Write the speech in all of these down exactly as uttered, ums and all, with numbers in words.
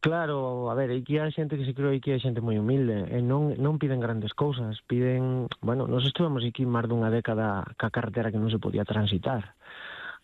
Claro, a ver, aquí hai xente que se creo que hai xente moi humilde e non non piden grandes cousas, piden, bueno, nos estuvemos aquí máis dunha década ca carretera que non se podía transitar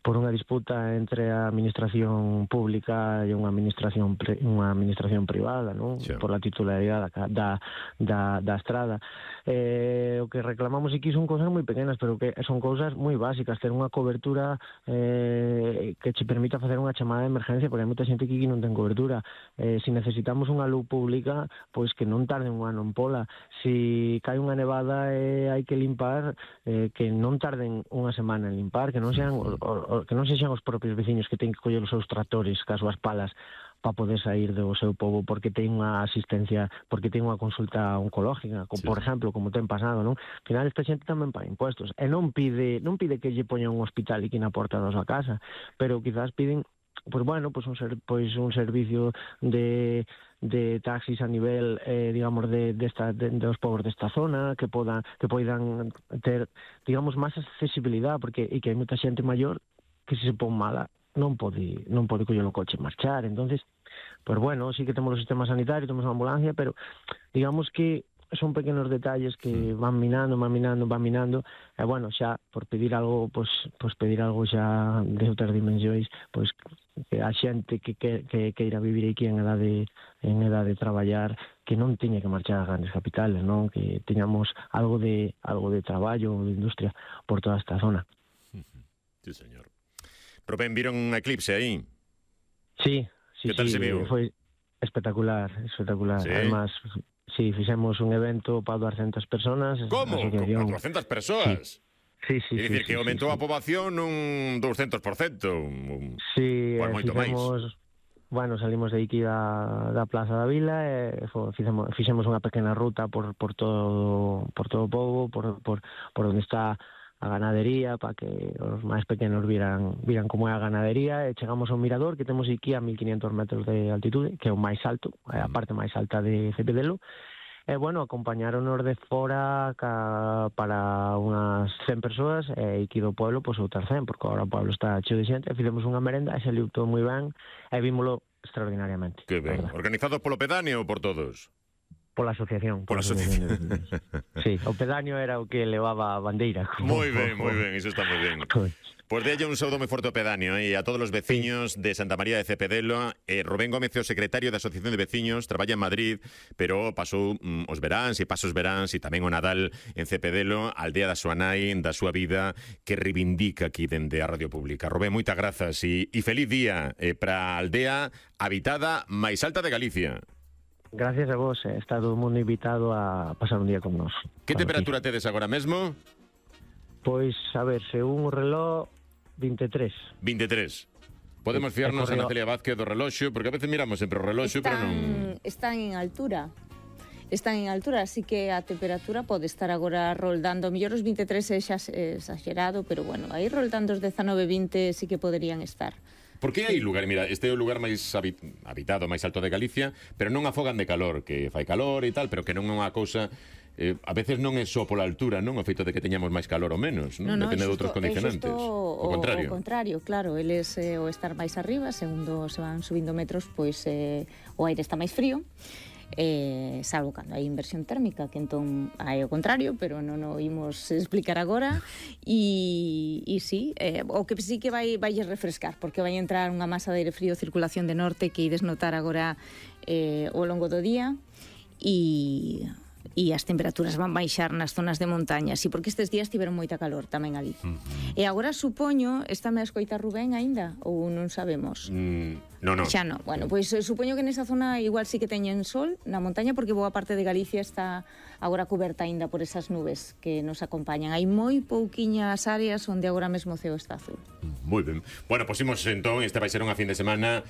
por unha disputa entre a administración pública e unha administración pri, unha administración privada, non? Sí. Por a titularidade da, da, da estrada. Eh, o que reclamamos aquí son cousas moi pequenas, pero que son cousas moi básicas, ter unha cobertura eh, que che permita facer unha chamada de emergencia, porque hai moita xente que aquí non ten cobertura. Eh, se necesitamos unha luz pública, pois que non tarden un ano en pola. Se cae unha nevada e eh, hai que limpar, eh, que non tarden unha semana en limpar, que non sean o, o, que non sexan os propios veciños que teñen que coller os seus tractores cas súas palas para poder sair do seu pobo porque ten unha asistencia, porque ten unha consulta oncológica, como, sí. Por exemplo, como ten pasado, non? Al final esta xente tamén paga impuestos e non pide non pide que lle poñan un hospital aquí na porta da súa casa, pero quizás piden pois bueno, pois un ser, pois un servicio de de taxis a nivel eh, digamos de desta de, de, dos povos desta zona que podan que poidan ter digamos máis accesibilidade porque e que hai moita xente maior que se se pon mala non pode non pode coller o coche e marchar. Entonces, pues bueno, sí que temos o sistema sanitario, temos a ambulancia, pero digamos que son pequenos detalles que van minando, van minando, van minando, e bueno, xa por pedir algo, pues pues pedir algo xa de outras dimensións, pues que a xente que que que queira vivir aquí en edade en edade de traballar, que non teña que marchar ás grandes capitales, non? Que teñamos algo de algo de traballo, de industria por toda esta zona. Sí, señor. Rubén, viron un eclipse aí? Sí, sí, que tal sí, se viu? Foi espectacular, espectacular. Sí? Además, sí, fixemos un evento para doscientas personas. Como? Con doscientas persoas? Sí, sí, sí. É dicir, sí, que sí, aumentou sí, a poboación un doscientos por cento. Sí, pues moito máis. Bueno, salimos de aquí da, da Plaza da Vila e fixemos, fixemos unha pequena ruta por, por todo por todo o pobo, por, por, por onde está a ganadería, para que os máis pequenos viran, viran como é a ganadería, e chegamos ao mirador que temos aquí a mil quinientos metros de altitude, que é o máis alto, é a parte máis alta de Cepedelo. E, bueno, acompañáronos de fora ca, para unhas cen persoas e aquí do pueblo, pois, outras cen, porque agora o pueblo está cheo de xente, e fizemos unha merenda e saliu todo moi ben e vímolo extraordinariamente. Que ben. Organizado polo pedáneo ou por todos? Pola asociación. Pola asociación. Sí, o pedáneo era o que levaba a bandeira. Moi ben, moi ben, iso está moi ben. Pois de un saúdo moi forte ao pedáneo e a todos os veciños de Santa María de Cepedelo. eh, Rubén Gómez é o secretario da Asociación de Veciños, traballa en Madrid, pero pasou mm, os veráns e pasos veráns e tamén o Nadal en Cepedelo, a aldea da súa nai, da súa vida, que reivindica aquí dende a Radio Pública. Rubén, moitas grazas e, e feliz día eh, para a aldea habitada máis alta de Galicia. Gracias a vos, eh, está todo o mundo invitado a pasar un día con nós. Que temperatura aquí tedes agora mesmo? Pois, a ver, según o reloj, vinte e tres. vinte e tres. Podemos fiarnos a Natalia Vázquez do reloxo, porque a veces miramos sempre o reloxo, están, pero non... Están en altura. Están en altura, así que a temperatura pode estar agora roldando. Mellor os vinte e tres é xa exagerado, pero bueno, aí roldando os dezanove, vinte sí que poderían estar. Porque hai lugar, mira, este é o lugar máis habitado, máis alto de Galicia, pero non afogan de calor, que fai calor e tal, pero que non é unha cousa... Eh, a veces non é só pola altura, non? O feito de que teñamos máis calor ou menos, non? No, no, Depende xusto, de outros condicionantes. O, o contrario. O contrario, claro. Eles, eh, o estar máis arriba, segundo se van subindo metros, pois eh, o aire está máis frío. Eh, salvo cando hai inversión térmica, que entón hai o contrario, pero non o imos explicar agora. E, e sí, eh, o que sí que vai vai refrescar, porque vai entrar unha masa de aire frío, circulación de norte, que ides notar agora eh, ao longo do día, e e as temperaturas van baixar nas zonas de montaña, sí, porque estes días tiveron moita calor tamén ali. Uh -huh. E agora supoño, está me a escoitar Rubén aínda, ou non sabemos? Mm, non, non. Xa non. Bueno, pois pues, supoño que nesa zona igual sí que teñen sol na montaña, porque boa parte de Galicia está agora coberta aínda por esas nubes que nos acompañan. Hai moi pouquiñas áreas onde agora mesmo o ceo está azul. Moi ben. Bueno, pois imos entón, este vai ser unha fin de semana.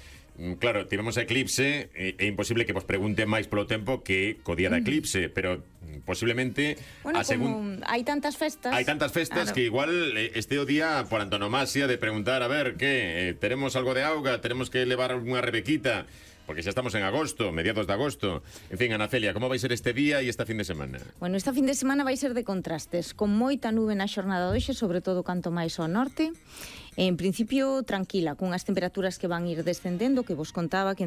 Claro, tivemos eclipse, é, é imposible que vos pregunte máis polo tempo que co día da eclipse, pero posiblemente bueno, a segun... como hai tantas festas... Hai tantas festas, claro, que igual este o día por antonomasia de preguntar, a ver, que, eh, teremos algo de auga, teremos que levar unha rebequita, porque xa estamos en agosto, mediados de agosto. En fin, Ana Celia, como vai ser este día e esta fin de semana? Bueno, esta fin de semana vai ser de contrastes, con moita nube na xornada de hoxe, sobre todo canto máis ao norte. En principio, tranquila, cunhas temperaturas que van ir descendendo, que vos contaba que